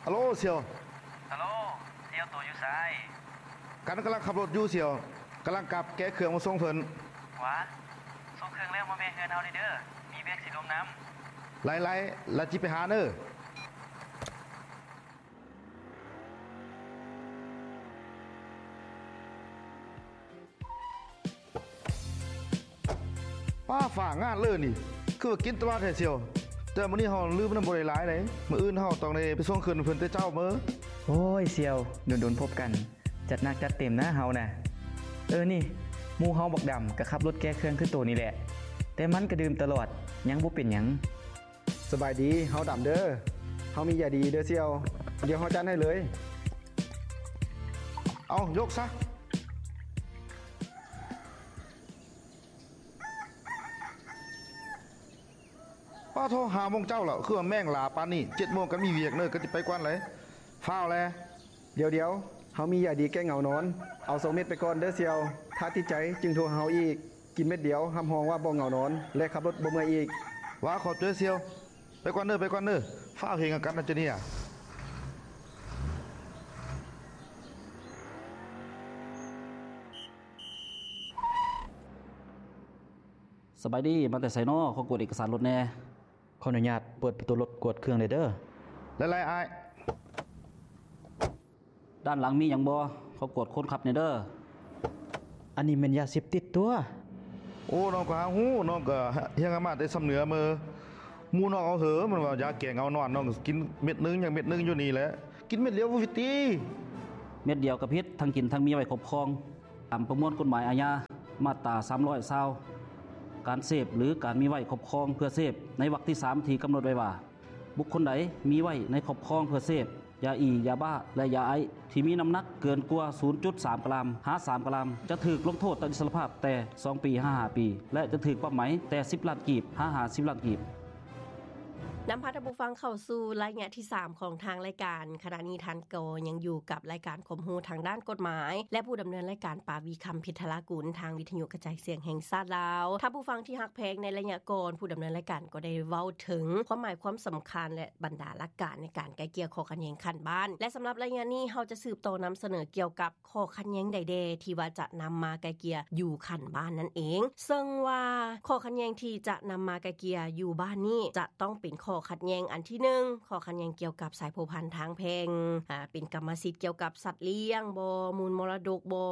ຮັລໂຫຼ ສ່ຽວ. ຮັລໂຫຼ ສ່ຽວ ໂຕຢູ່ໃສ? ກັນກຳລັງຂັບລົດຢູ່ສ່ຽວ, ກຳລັງກັບແກະເຄື່ອງມາສົ່ງເພິ່ນ. ຫວາ ສົ່ງເຄື່ອງແລ້ວມາແວ່ເຮືອນເຮົາແດ່ເດີ, ມີວຽກຊິລົມນຳ. ຫຼາຍໆ ລະຈິໄປຫາເດີ. ປ້າ ຟ້າງານເລີຍນີ້ ຄືວ່າກິນຕະຫຼອດແທ້ສ່ຽວ. ແຕ່ມື້ນີ້ເຮົາລືມນຳບໍ່ໄດ້ຫຼາຍໃດ, ມື້ອື່ນເຮົາຕ້ອງໄດ້ໄປສົ່ງເຄື່ອງເພິ່ນແຕ່ເຊົ້າເມີ. ໂອ້ຍສ່ຽວ ດົນໆພົບກັນ, ຈັດໜັກຈັດເຕັມນະເຮົານະ. ເອີ ນີ້ ໝູ່ເຮົາບັກດຳກໍຂັບລົດແກະເຄື່ອງຄືໂຕນີ້ແຫຼະ, ແຕ່ມັນກໍດື່ມຕະຫຼອດ ຍັງບໍ່ເປັນຫຍັງ. ສະບາຍດີ, ເຮົາດຳເດີ. ເຮົາມີຢາດີເດີສ່ຽວ, ດຽວເຮົາຈັດໃຫ້ເລີຍ. ເອົາ ຍົກຊະ. ປ້າໂທ ຫ້າໂມງເຊົ້າແລ້ວ, ຄືວ່າແມ່ງຫຼ້າປານນີ້. ເຈັດໂມງກໍມີວຽກເນີ, ກໍຊິໄປກ່ອນເລີຍ. ຟ້າວແລ. ດຽວໆ ເຮົາມີຢາດີແກ້ເຫງົານອນ, ເອົາສອງເມັດໄປກ່ອນເດີສ່ຽວ. ຖ້າຕິດໃຈຈຶ່ງໂທຫາເຮົາອີກ. ກິນເມັດດຽວ ຮັບຮອງວ່າບໍ່ເຫງົານອນ ແລະ ຂັບລົດບໍ່ເມື່ອຍອີກ. ຫວາ ຂອບໃຈສ່ຽວ. ໄປກ່ອນເດີ ໄປກ່ອນເດີ. ຟ້າວເຮັດຫຍັງກັນນະເຈົ້ານີ້. ສະບາຍດີ, ມາແຕ່ໃສນໍ? ຂໍກວດເອກະສານລົດແດ່. ຂໍອະນຸຍາດເປີດປະຕູລົດກວດເຄື່ອງໄດ້ເດີ. ຫຼາຍໆ ອ້າຍ. ດ້ານຫຼັງມີຫຍັງບໍ່? ຂໍກວດຄົນຂັບແດ່ເດີ. ອັນນີ້ແມ່ນຢາເສບຕິດຕົວະ. ໂອ້ ນ້ອງກໍຫາຮູ້, ນ້ອງກໍຮຽນມາແຕ່ຊຳເໜືອເມີ. ໝູ່ນ້ອງເອົາເຫີ ມັນວ່າຢາແກ້ເຫງົານອນ, ນ້ອງກໍກິນເມັດໜຶ່ງ ຍັງເມັດໜຶ່ງຢູ່ນີ້ແຫຼະ. ກິນເມັດດຽວບໍ່ຜິດຕິ. ເມັດດຽວກໍຜິດ, ທັງກິນທັງມີໄວ້ຄອບຄອງ. ຕາມປະມວນກົດໝາຍອາຍາ ມາດຕາສາມຮ້ອຍຊາວ ການເສບ ຫຼື ການມີໄວ້ຄອບຄອງເພື່ອເສບ ໃນວັກທີສາມ ທີ່ກຳນົດໄວ້ວ່າ ບຸກຄົນໃດມີໄວ້ໃນຄອບຄອງເພື່ອເສບ ຢາອີ, ຢາບ້າ ແລະ ຢາໄອສ໌ ທີ່ມີນ້ຳໜັກເກີນກວ່າ ສູນຈຸດສາມກຣາມ ຫາ ສາມກຣາມ ຈະຖືກລົງໂທດຕັດອິດສະລະພາບແຕ່ສອງປີ ຫາ ຫ້າປີ ແລະ ຈະຖືກປັບໃໝແຕ່ສິບລ້ານກີບ ຫາ ຫ້າສິບລ້ານກີບ. ນຳພາທ່ານຜູ້ຟັງເຂົ້າສູ່ໄລຍະທີສາມຂອງທາງລາຍການ. ຂະນະນີ້ທ່ານກໍຍັງຢູ່ກັບລາຍການຄວາມຮູ້ທາງດ້ານກົດໝາຍ ແລະ ຜູ້ດຳເນີນລາຍການ ປາວີ ຄຳພິດທະລາກຸນ ທາງວິທະຍຸກະຈາຍສຽງແຫ່ງຊາດລາວ. ທ່ານຜູ້ຟັງທີ່ຮັກແພງ, ໃນໄລຍະກ່ອນ ຜູ້ດຳເນີນລາຍການກໍໄດ້ເວົ້າເຖິງຄວາມໝາຍຄວາມສຳຄັນ ແລະ ບັນດາຫຼັກການໃນການໄກ່ເກ່ຍຂໍ້ຂັດແຍ່ງຂັ້ນບ້ານ ແລະ ສຳລັບໄລຍະນີ້ ເຮົາຈະສືບຕໍ່ນຳສະເໜີກ່ຽວກັບ ຂໍ້ຂັດແຍ່ງໃດແດ່ທີ່ວ່າຈະນຳມາໄກ່ເກ່ຍຢູ່ຂັ້ນບ້ານນັ້ນເອງ. ເຊິ່ງວ່າຂໍ້ຂັດແຍ່ງທີ່ຈະນຳມາໄກ່ເກ່ຍຢູ່ບ້ານນີ້ ຈະຕ້ອງເປັນຂໍ້ຂັດແຍ່ງອັນທີໜຶ່ງ ຂໍ້ຂັດແຍ່ງກ່ຽວກັບສາຍພົວພັນທາງແພ່ງ, ອາ, ເປັນກຳມະສິດກ່ຽວກັບສັດລ້ຽງບໍ, ມູນມໍລະດົກບໍ,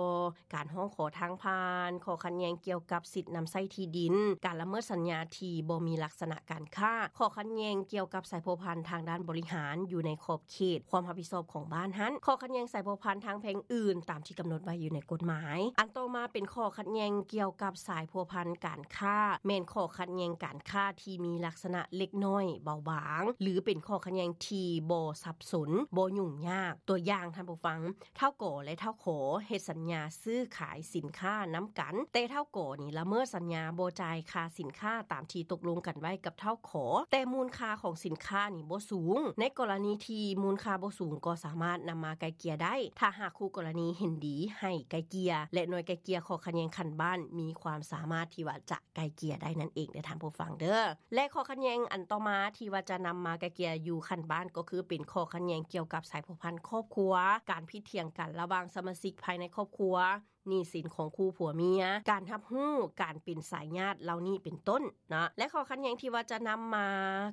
ການຮ້ອງຂໍທາງຜ່ານ, ຂໍ້ຂັດແຍ່ງກ່ຽວກັບສິດນຳໃຊ້ທີ່ດິນ, ການລະເມີດສັນຍາທີ່ບໍ່ມີລັກສະນະການຄ້າ, ຂໍ້ຂັດແຍ່ງກ່ຽວກັບສາຍພົວພັນທາງດ້ານບໍລິຫານຢູ່ໃນຂອບ ເຂດຄວາມຮັບຜິດຊອບຂອງບ້ານຫັ້ນ, ຂໍ້ຂັດແຍ່ງສາຍພົວພັນທາງແພ່ງອື່ນຕາມທີ່ກຳນົດໄວ້ຢູ່ໃນກົດໝາຍ. ອັນຕໍ່ມາເປັນຂໍ້ຂັດແຍ່ງກ່ຽວກັບສາຍພົວພັນການຄ້າ, ແມ່ນຂໍ້ຂັດແຍ່ງການຄ້າທີ່ມີລັກສະນະເລັກນ້ອຍເບົາບາງ ຫຼື ເປັນຂໍ້ຂັດແຍ່ງທີ່ບໍ່ສັບສົນ, ບໍ່ຫຍຸ້ງຍາກ. ຕົວຢ່າງ, ທ່ານຜູ້ຟັງ, ທ້າວ ກ ແລະ ທ້າວ ຂ ເຮັດສັນຍາຊື້ຂາຍສິນຄ້ານຳກັນ, ແຕ່ທ້າວ ກ ນີ້ລະເມີດສັນຍາ, ບໍ່ຈ່າຍຄ່າສິນຄ້າຕາມທີ່ຕົກລົງກັນໄວ້ກັບທ້າວ ຂ, ແຕ່ມູນຄ່າຂອງສິນຄ້ານີ້ບໍ່ສູງ. ໃນກໍລະນີທີ່ມູນຄ່າບໍ່ສູງກໍສາມາດນຳມາໄກ່ເກ່ຍໄດ້ ຖ້າຫາກຄູ່ກໍລະນີເຫັນດີໃຫ້ໄກ່ເກ່ຍ ແລະ ໜ່ວຍໄກ່ເກ່ຍຂໍ້ຂັດແຍ່ງຂັ້ນບ້ານມີຄວາມສາມາດທີ່ວ່າຈະໄກ່ເກ່ຍໄດ້ນັ້ນເອງເດີທ່ານຜູ້ຟັງເດີ. ແລະ ຂໍ້ຂັດແຍ່ງອັນຕໍ່ມາທີ່ວ່າຈະນຳມາໄກ່ເກ່ຍຢູ່ຂັ້ນບ້ານກໍຄືເປັນຂໍ້ຂັດແຍ່ງກ່ຽວກັບສາຍພົວພັນຄອບຄົວ, ການຜິດຖຽງກັນລະຫວ່າງສະມາຊິກພາຍໃນຄອບຄົວ, ໜີ້ສິນຂອງຄູ່ຜົວເມຍ, ການຮັບຮູ້ການເປັນສາຍຍາດເຫຼົ່ານີ້ເປັນຕົ້ນເນາະ. ແລະ ຂໍ້ຂັດແຍ່ງທີ່ວ່າຈະນຳມາ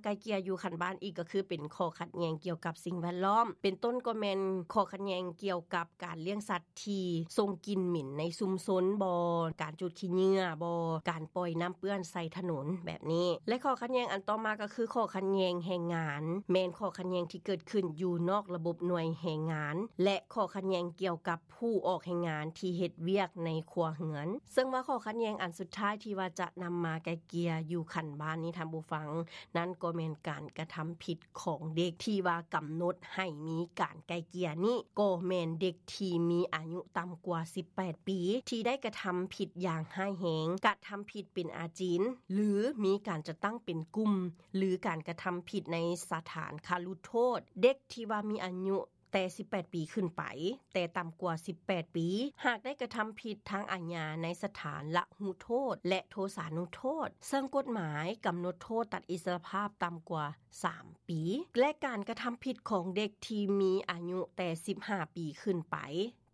ໄກ່ເກ່ຍຢູ່ຂັ້ນບ້ານອີກກໍຄືເປັນຂໍ້ຂັດແຍ່ງກ່ຽວກັບສິ່ງແວດລ້ອມ, ເປັນຕົ້ນກໍແມ່ນຂໍ້ຂັດແຍ່ງກ່ຽວກັບການລ້ຽງສັດທີ່ສົ່ງກິ່ນເໝັນໃນຊຸມຊົນບໍ, ການຈູດຂີ້ເຫຍື້ອບໍ, ການປ່ອຍນ້ຳເປື້ອນໃສ່ຖະໜົນແບບນີ້. ແລະ ຂໍ້ຂັດແຍ່ງອັນຕໍ່ມາກໍຄືຂໍ້ຂັດແຍ່ງແຮງງານ, ແມ່ນຂໍ້ຂັດແຍ່ງທີ່ເກີດຂຶ້ນຢູ່ນອກລະບົບໜ່ວຍແຮງງານ ແລະ ຂໍ້ຂັດແຍ່ງກ່ຽວກັບ ຜູ້ອອກແຮງງານທີ່ເຮັດວຽກໃນຄົວເຮືອນ. ເຊິ່ງວ່າຂໍ້ຂັດແຍ່ງອັນສຸດທ້າຍທີ່ວ່າຈະນຳມາໄກ່ເກ່ຍຢູ່ຂັ້ນບ້ານນີ້ທ່ານຜູ້ຟັງ, ນັ້ນກໍແມ່ນການກະທຳຜິດຂອງເດັກທີ່ວ່າກຳນົດໃຫ້ມີການໄກ່ເກ່ຍນີ້ ກໍແມ່ນເດັກທີ່ມີອາຍຸຕ່ຳກວ່າສິບແປດປີ ທີ່ໄດ້ກະທຳຜິດຢ່າງຮ້າຍແຮງ, ກະທຳຜິດເປັນອາຈິນ ຫຼື ມີການຈັດຕັ້ງເປັນກຸ່ມ ຫຼື ການກະທຳຜິດໃນສະຖານຄະລຸໂທດ. ເດັກທີ່ວ່າມີອາຍຸ ແຕ່ສິບແປດປີຂຶ້ນໄປ, ແຕ່ຕ່ຳກວ່າສິບແປດປີ ຫາກໄດ້ກະທຳຜິດທາງອາຍາໃນສະຖານລະຫຸໂທດ ແລະ ໂທສານຸໂທດ, ເຊິ່ງກົດໝາຍກຳນົດໂທດຕັດອິດສະຫຼະພາບຕ່ຳກວ່າສາມປີ ແລະ ການກະທຳຜິດຂອງເດັກທີ່ມີອາຍຸແຕ່ສິບຫ້າປີຂຶ້ນໄປ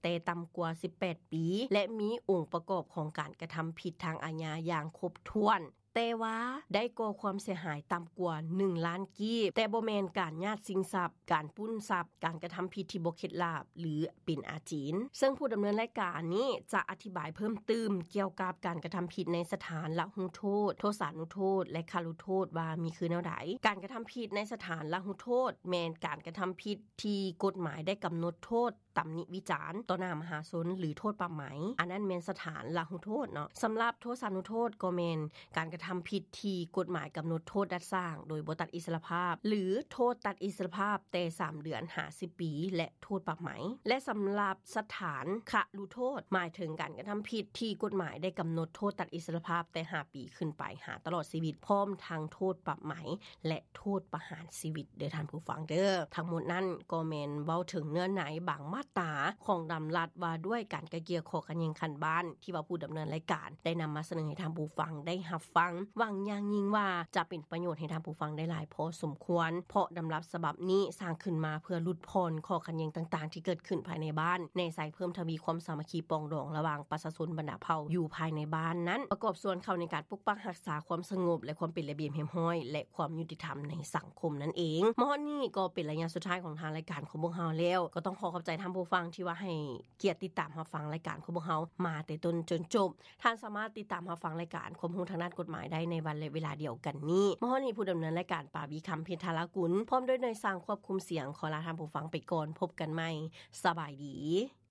ແຕ່ຕ່ຳກວ່າສິບແປດປີ ແລະ ມີອົງປະກອບຂອງການກະທຳຜິດທາງອາຍາຢ່າງຄົບຖ້ວນ, ແຕ່ວ່າໄດ້ກໍ່ຄວາມເສຍຫາຍຕ່ຳກວ່າໜຶ່ງລ້ານກີບ, ແຕ່ບໍ່ແມ່ນການຍາດຊິງຊັບ, ການປຸ້ນຊັບ, ການກະທຳຜິດທີ່ບໍ່ເຂັດລາບ ຫຼື ເປັນອາຈິນ. ເຊິ່ງຜູ້ດຳເນີນລາຍການນີ້ຈະອະທິບາຍເພີ່ມຕື່ມກ່ຽວກັບການກະທຳຜິດໃນສະຖານລະຫຸໂທດ, ໂທສານຸໂທດ ແລະ ຄະລຸໂທດວ່າມີຄືແນວໃດ. ການກະທຳຜິດໃນສະຖານລະຫຸໂທດ ແມ່ນການກະທຳຜິດທີ່ກົດໝາຍໄດ້ກຳນົດໂທດ ຕຳໜິວິຈານຕໍ່ໜ້າມະຫາຊົນ ຫຼື ໂທດປັບໃໝ, ອັນນັ້ນແມ່ນສະຖານລະຫຸໂທດເນາະ. ສຳລັບໂທສານຸໂທດກໍແມ່ນການກະທຳຜິດທີ່ກົດໝາຍກຳນົດໂທດດັດສ້າງໂດຍບໍ່ຕັດອິດສະຫຼະພາບ ຫຼື ໂທດຕັດອິດສະຫຼະພາບແຕ່ສາມເດືອນຫາສິບປີ ແລະ ໂທດປັບໃໝ. ແລະ ສຳລັບສະຖານຄະລຸໂທດ ໝາຍເຖິງການກະທຳຜິດທີ່ກົດໝາຍໄດ້ກຳນົດໂທດຕັດອິດສະຫຼະພາບແຕ່ຫ້າປີຂຶ້ນໄປຫາຕະຫຼອດຊີວິດ ພ້ອມທັງໂທດປັບໃໝ ແລະ ໂທດປະຫານຊີວິດເດີທ່ານຜູ້ຟັງເດີ. ທັງໝົດນັ້ນກໍແມ່ນເວົ້າເຖິງເນື້ອໃນບາງມາດຕາຂອງດຳລັດວ່າດ້ວຍການໄກ່ເກ່ຍຂໍ້ຂັດແຍ່ງຂັ້ນບ້ານ ທີ່ວ່າຜູ້ດຳເນີນລາຍການໄດ້ນຳມາສະເໜີໃຫ້ທ່ານຜູ້ຟັງໄດ້ຮັບຟັງ. ຫວັງຢ່າງຍິ່ງວ່າຈະເປັນປະໂຫຍດໃຫ້ທ່ານຜູ້ຟັງໄດ້ຫຼາຍພໍສົມຄວນ, ເພາະດຳລັດສະບັບນີ້ສ້າງຂຶ້ນມາເພື່ອຫຼຸດຜ່ອນຂໍ້ຂັດແຍ່ງຕ່າງໆທີ່ເກີດຂຶ້ນພາຍໃນບ້ານ, ແນໃສ່ເພີ່ມທະວີຄວາມສາມັກຄີປອງດອງລະຫວ່າງປະຊາຊົນບັນດາເຜົ່າຢູ່ພາຍໃນບ້ານນັ້ນ, ປະກອບສ່ວນເຂົ້າໃນການປົກປັກຮັກສາຄວາມສະຫງົບ ແລະ ຄວາມເປັນລະບຽບຮຽບຮ້ອຍ ແລະ ຄວາມຍຸຕິທຳໃນສັງຄົມນັ້ນເອງ. ມາຮອດນີ້ກໍເປັນໄລຍະສຸດທ້າຍຂອງທາງລາຍການຂອງພວກເຮົາແລ້ວ, ກໍຕ້ອງຂໍຂອບໃຈທ່ານຜູ້ຟັງທີ່ວ່າໃຫ້ກຽດຕິດຕາມຮັບຟັງລາຍການຂອງພວກເຮົາມາແຕ່ຕົ້ນຈົນຈົບ. ທ່ານສາມາດຕິດຕາມຮັບຟັງລາຍການຄວາມຮູ້ທາງດ້ານກົດໝາຍໄດ້ໃນວັນ ແລະ ເວລາດຽວກັນນີ້. ມາຮອດນີ້ຜູ້ດຳເນີນລາຍການ ປາວີ ຄຳເພັດທາລາກຸນ ພ້ອມດ້ວຍໜ່ວຍຊ່າງຄວບຄຸມສຽງ ຂໍລາທ່ານຜູ້ຟັງໄປກ່ອນ. ພົບກັນໃໝ່. ສະບາຍດີ.